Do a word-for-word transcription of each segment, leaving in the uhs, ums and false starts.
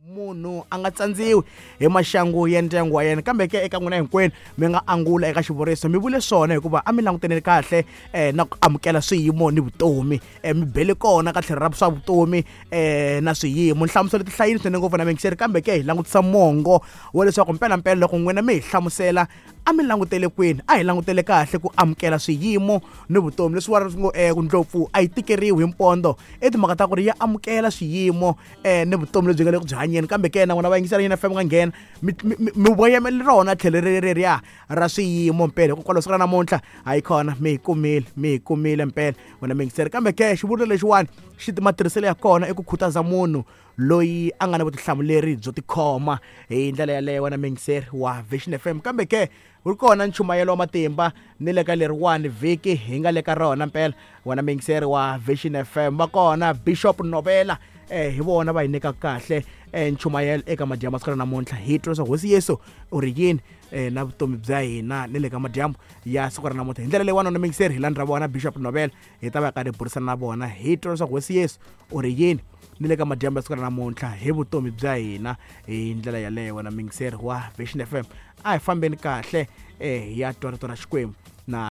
Munhu a nga tsandziwi hi maxangu ya ndyangu wa yena, kambe ke eka n'wina hinkwenu mi nga angula eka xivuriso mi vule swona hikuva a mi langutene kahle eh, na ku amukela swiyimo ni vutomi. eh, mi bele kona ka tlhelo ra swa vutomi eh, na swiyimo. Nhlamuselo ti hlayini swinene ngopfu na mingiseri, kambe ke hi langutisa mongo wa leswaku mpelampela loko n'wina mi hi hlamusela a mi langutele kwini, a hi langutele kahle ku amukela swiyimo ni vutomi. Leswi wa ngo eh, ndlopfu a yi tikeriwi hi mpondo, i timhaka ta ku ri ya amukela swiyimo eh, ni vutomi lebyi nga le ku byi hanyeni. Kambe ke na n'wina va yingisela yena F M nga nghena mi, mi, mi, mi voyameli rona tlhelo reriya ra swiyimo mpela, hikokwalaho siku ra namuntlha hayi kona mi hi kumile, mi hi kumile mpela wena mingiseri. Kambe ke xivuriso lexiwani xi matirhiselo ya kona i ku khutaza munhu loyi a nga na vutihlamuleri byo tikhoma hi ndlela yaleyo wena mingiseri wa Vision F M. Kambe ke wu kona nchumayelo wa matimba ni le ka leriwani vhiki hi nga le ka rona mpela wena mingiseri wa Vision F M. Va kona Bishop Novela eh hi vona va hi nyika kahle eh, nchumayelo eka madyambu siku ra namuntlha. Hi twa leswaku Hosi Yesu u ri yini eh, na vutomi bya hina ni le ka madyambu ya siku ra namuntlha. Hi ndlela leyi wanuna mingiseri hi landza vona Bishop Novela, hi ta va karhi hi burisana na vona hi twa leswaku Hosi Yesu u ri yini ni le ka madyambu ya siku ra namuntlha hi vutomi bya hina. Hi ndlela yaleyo wena mingiseri wa Vision F M, a hi fambeni kahle eh, hi ya twa rito ra Xikwembu na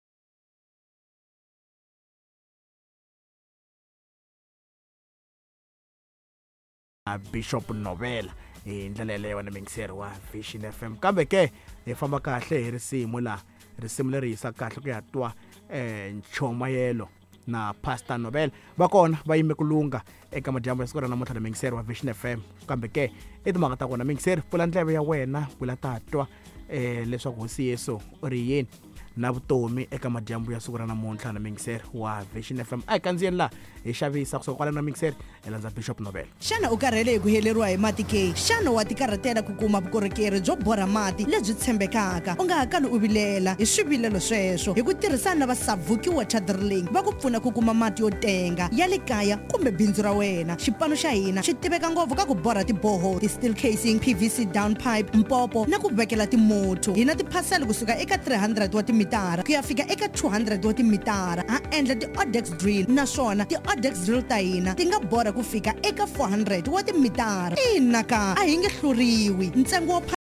Bishop Novela hi ndlela yaleyo wena mingiseri wa Vision F M. Kambe ke hi famba kahle hi risimu la risimu leri yisa kahle ku ya twa eh, nchumayelo na Pastor Novela. Va kona va yime ku lunga eka madyambu ya siku ra namuntlha na mingiseri wa Vision F M. Kambe ke i timhaka ta kona mingiseri, pfula ndleve ya wena pfula tatwa eh, leswaku Hosi Yesu u ri yini na vutomi eka madyambu ya siku ra namuntlha na mingiseri wa Vision F M. A hi kandziyeni laha hi xavisa kusuka kwalano na mingiseri hi landza Bishop Novela. Xana u karhele hi ku heleriwa hi mati ke? Xana wa tikarhatela ku kuma vukorhokeri byo borha mati lebyi tshembekaka? U nga ha kali u vilela hi swivilelo sweswo hi ku tirhisana na va Savuki Water Drilling va ku pfuna ku kuma mati yo tenga ya le kaya kumbe bindzu ra wena. Xipano xa hina xi tiveka ngopfu ka ku borha tiboho, ti-steel casing, P V C down pipe, mpopo na ku vekela timotho. Hi na tiphasela kusuka eka three hundred wa timitara ku ya fika eka two hundred wa timitara. Ha endla ti-Odex drill, naswona ti-Odex drill ta hina ti nga borha ku fika eka four hundred wa timitara. Ina ka a hi nge hluriwi. Ntsengo wa